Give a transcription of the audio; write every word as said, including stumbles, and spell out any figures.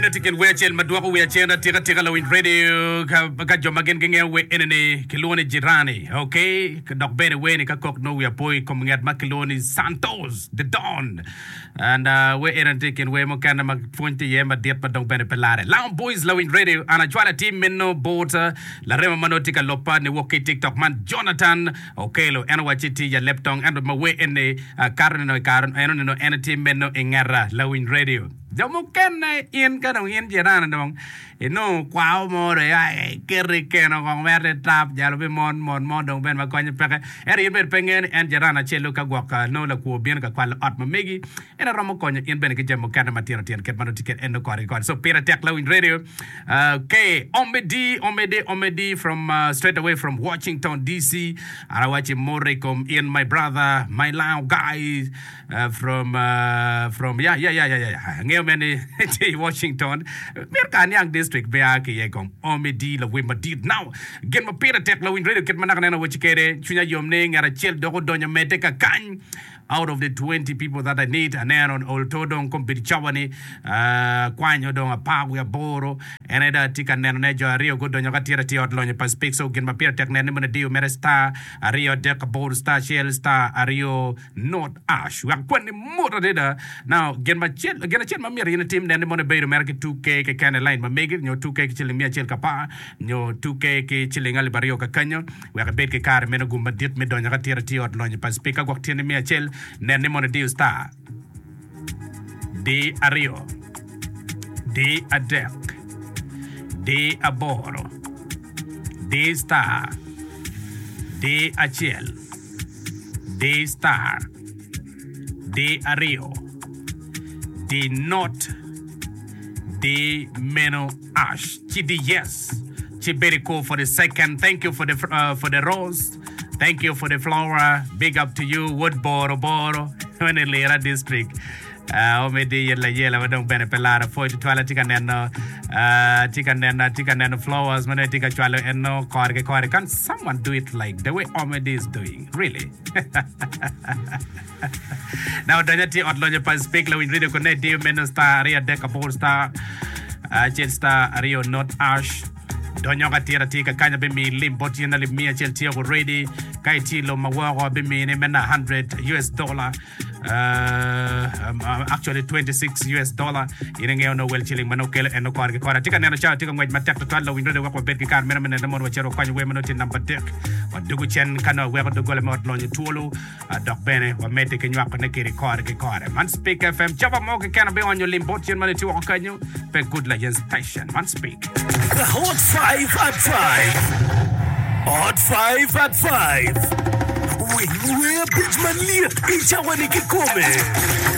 Eno tye kin wer acel ma dwoko wiya cen atika tika lawiny radio ka, ka jo ma gin gingeyo wer enini kilwongo ni jirani ok dok bene wer ni ka kok nongo wiya po i kom nget ma kilwongo ni Santos the Don and uh, wer enini tye kin wer mukene ma pwony tye iye madit ma dong bene pe lare Loud Boys lawiny radio an acwalo atir meno bot uh, larema ma nongo tye ka lobba ni wok ki i TikTok man Jonathan Okelo en owacci tye ya lep tong ento ma wer eni uh, kato nino i kare eno nino en tye meno i ngeta lawiny radio jo mukene in ka dong in jirani dong inongo kwao mo dong ia iketo i keno kong mere tap jalo bi mon mon mo dong bene ma konye peke ento in bene pe ingeyo ni en jirani acel ka gwok nongo lakwo bino ka kwalo ot ma megi en romo konyo in bene ki jami mukene matino tino kit ma nongo tye kwede en nongo kore ki kore so pire tek lawiny radio okay Omedi Omedi Omedi from uh, straight away from Washington DC an awaci mot i kom in my brother my Lao guy uh, from uh, from yeah yeah yeah yeah yeah angeyo mene tye i Washington myero ka aniang district me a ki iye kong Omedi lawiny madit now gin ma pire tek lawiny radio kit ma naka neno waci kede cwinya yom ni ngat acel dok odonyo medde ka kany out of the twenty people that I need aneno olto dong kombeddi cawa ni uh, kwanyo dong apar wiye aboro en aye dong atye ka nenone jo aryo gudonyo ka tye atir ot lonyo pa Speak so gin ma pire tek nen ni mono idiyo mere star aryo adek aboro star acel star aryo not ash wek kwanni mot adada now gin macel gin acel ma myero in itim nen ni mono ibedo mere ki two K keken i line ma megi nyo two K ki ciling miya acel ka apar nyo two K ki ciling alip aryo ka kanyo wek ibed ki kare meno gum madit me donyo ka tye atir ot lonyo pa Speak ka gwok tye ni miya acel nen ni mono idiyo star D aryo D adek D aboro D star D acel D star D aryo D not D meno ash ci D yes ci very cool for the second thank you for the uh, for the rose thank you for the flower big up to you Wood Boro Boro in Lira district uh, omedi yela yela ma dong bene pe laro pwoy tutwal atye ka neno uh, atye ka neno atye ka neno flowers ma dong atye ka cwalo eno kore ki kore can someone do it like the way Omedi is doing really na odonyo atye ot lonyo pa Speak lawiny radio kone diyo meno star aryo adek aboro star acel star aryo not ash donyo ka tira tye ka kanya bimiyi lim bot yen alip miya acel tye already ka itye i lobo ma woko bimini meno hundred U S dollar uh, um, uh, actually twenty-six U S dollar in ingeyo no wel ciling ma nongo kelo en kore ki kore atye ka neno cawa tye ka ngwec matek tutwal lawiny radio wek wabed ki kare meno me neno mono wacito wakwanyo wer ma nongo tye namba adek wadugo cen ka nongo weko doggola me ot lonyo twolo uh, dok bene wamedde ki nywakone kede kore ki kore man Speak F M cawa mo keken abionyo lim bot yen ma nongo tye woko kanyo pe Good Legends Station man Speak. The Hot five at five. Hot five at five. Winy wer abic malyet i cawa ni kikome.